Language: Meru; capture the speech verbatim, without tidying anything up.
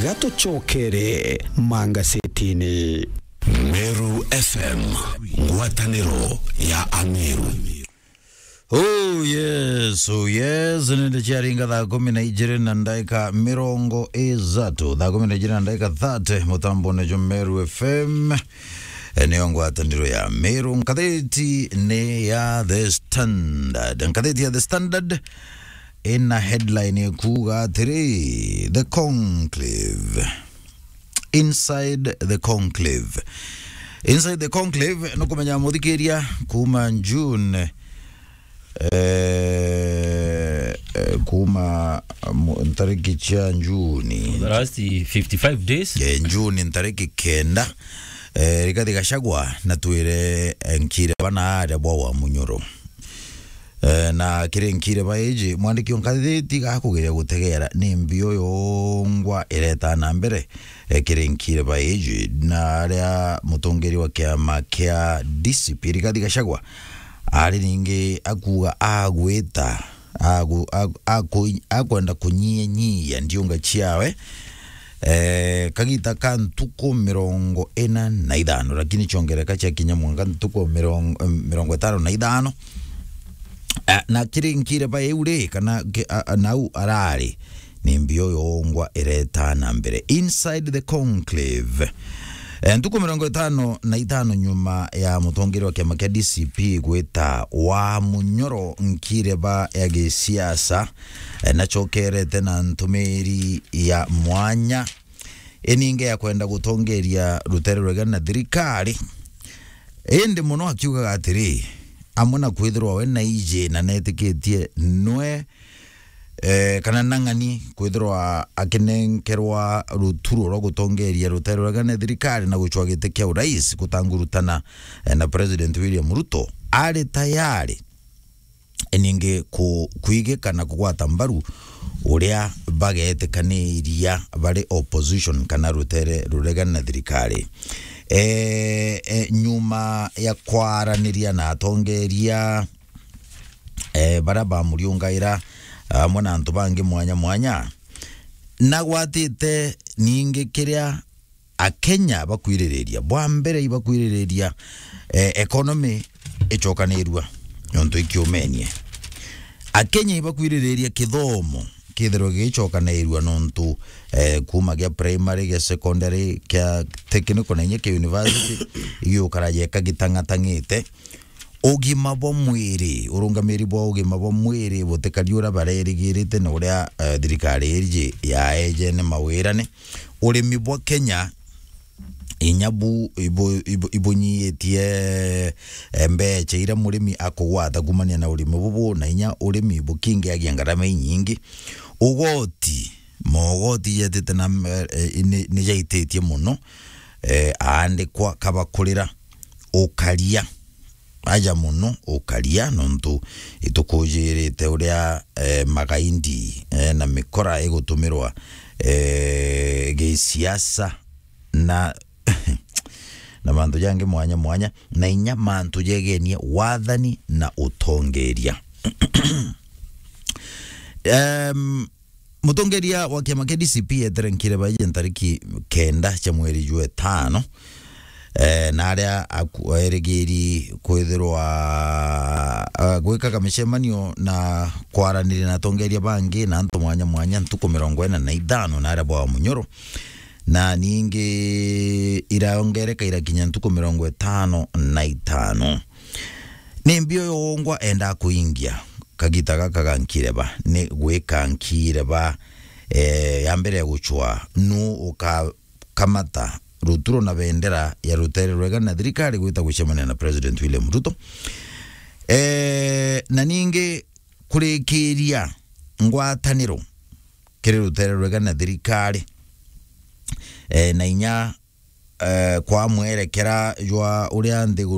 Gatucokere mangasetini. Meru F M, ngwataniro ya Ameru. Oh yes, oh yes, nende ciaringa thaa kumi na ijiri na ndaika mirongo ithatu, thaa kumi na ijiri na ndaika thirty, mutambone jwa Meru F M. Eh, niyo ngwataniro ya Meru. Ngatheti ni ya The Standard. Ngatheti ya The Standard ina headline ikuuga atiri, The Conclave. Inside the Conclave. Inside the Conclave, nukumenya muthikiria, kuma June, eh, eh, kuma, mu-, ntariki cia Juni. The last fifty-five days. Eh, Juni ntariki kenda, eh, Rigathi Gachagua na twire, eh, nkire bana aria bwa wa munyoro. Eh, na kiri nkire ba iji, mwandiki o ngatheti gakugeria gutegera ni mbio yongwa ireta na mbere, eh, kiri nkire ba iji, na aria mutongeri wa kiama kia D C P Rigathi Gachagua ari ningi akuuga agwita, agu-, agu-, aku-, akwenda kunyianyia ndiunga ciawe, eh, kagita ka ntuku mirongo ina na ithano, lakini ciongereka ciakinya mwanka ntuku mirongo, mirongo itano na ithano. Ah, na kiri nkire ba iu ri, kana ki-, a, a, nau arari, ni mbio yongwa ireta na mbere. Inside the Conclave. Eh, ntuku mirongo itano na itano nyuma ya mutongeri wa kiama kia D C P gwita wa munyoro nkire ba ya gisiasa, eh, nacokerete na ntumiri ya mwanya, ininge ya kwenda gutongeria rutere rwega na thirikari. Indi muno akiugaga atiri, amwe na kwithirwa we na iji na netikitie nwe, eh, kana nang'ani kwithirwa akinenkerwa ruturo rwa gutongeria rutere rwega na thirikari na gucwa giti kia urais gutangurutana, eh, na President William Ruto, ari tayari ningi ku-, kwigika na kugwata mbaru uria bagetikaniria bari opposition kana rutere ruregana na thirikari. E, e, nyuma ya kwaraniria na atongeria, e, baria bamuriungaira, amwe na antu bangi mwanya mwanya, nagwatite ningi kiria Akenya bakwiririria, bwa mbere ibakwiririria, eh, economy icokanirua nontu ikiumenie. Akenya ibakwiririria kithomo kithirwe gigicokanirua nontu, eh, kuma gia primary, gia secondary, kia technical na inya kia university, igiukaraja ikagitang'atang'ite. Ugima bwa mwiri, urungamiri bwa ugima bwa mwiri butikari uria barerigirite na uria, eh, thirikari iji yaejene mawirane. Urimi bwa Kenya inya bu-, ibu-, ibu-, ibunyiitie, eh, mbecha iria murimi akugwata kumania na urimi bubu, na inya urimi bukingiagia ngarama inyingi. Ugoti, mogoti jetite na, eh, eh, ni, ni jaititie muno, eh, aandikwa kabakurira ukaria. Aja muno ukaria, nontu itukujirite uria, eh, magaindi, eh, na mikora igutumirwa, eh, gisiasa na, na mantu jangi mwanya mwanya, na inya mantu jegenie wathani na utongeria. Em, Mutongeria wa kiama kia D C P etere nkire baije ntariki kenda cia mweri jwa itano, eh, na aria aku-, erigiri kwithirwa, ah, gwikaga micemanio na kwaraniria na atongeria bangi na antu mwanya mwanya ntuku mirongo ina na ithano na aria bwa munyoro, na ningi iraongereka irakinya ntuku mirongo itano na itano. Ni mbio yongwa enda kuingia kagita gaka ga nkireba, ni gwika nkireba, eh, ya mbere ya gucwa, nu ukakamata ruturo na bendera ya rutere rwega na thirikari gwita gucemania na President William Ruto. Eh, na ningi kurikiria ngwataniro kiri rutere rwega na thirikari, eh, na inya, eh, kwa mwerekera jwa uria nthiguru